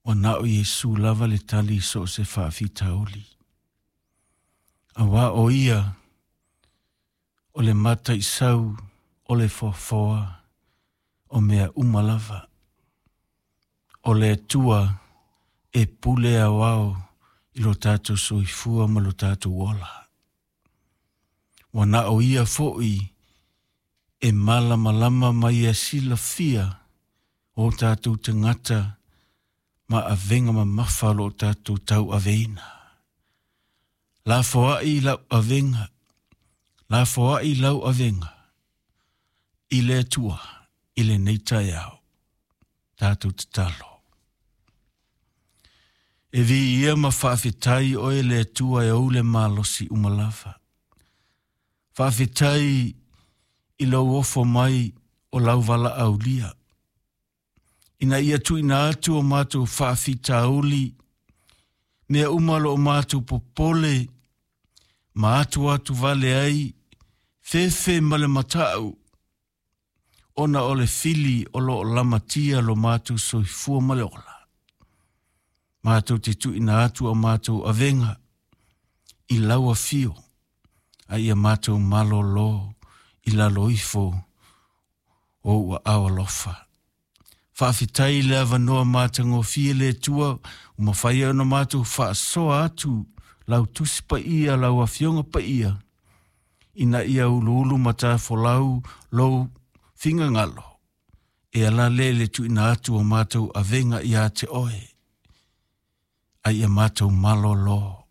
Ua na o Iesu lava le tali i so o se faafitauli. Auā o Ia o le mataisau o le foafoa o mea uma lava. O le Atua e pule aoao i lo tatou soifua ma lo tatou ola. Ua na o Ia foi e malamalama ma ia silafia o tatou tagata ma avega mamafa o lo o tatou tauaveina. Lafoai lau avega, lafoai lau avega i le Atua i lenei taeao. Tatou tatalo. E viia ma faafetai oe le Atua e ou le malosi uma lava. Faafetai i lou ofo mai o lau valaaulia. Ina ia tuuina atu o matou faafitauli, mea uma o lo o matou popole ma atuatu vale ai, fefe ma le matau, ona o le fili o lo o lamatia lo matou soifua ma le ola. Matou te tuuina atu a matou avega i lau afio, a ia matou malolo i lalo ifo o ou aao alofa. Faafetai i le avanoa matagofie le Atua ua mafai ai ona matou faasoa atu lau Tusi Paia, lau Afioga Paia, ina ia uluulu matafolau lou finagalo e ala lea i le tuuina atu o matou avega ia te oe, a ia matou malolo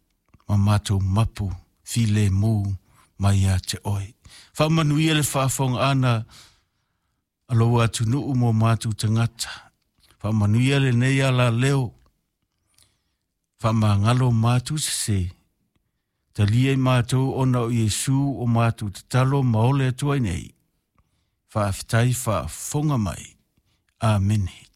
ma matou mapu filemu mai ia te oe. Faamanuia le faafofogaaga a lou atunuu mo matou tagata. Faamanuia lenei alaleo, faamagalo matou sese, talia i matou ona o Iesu o matou tatalo ma ole atu ai nei. Faafetai faafofoga mai. Amene.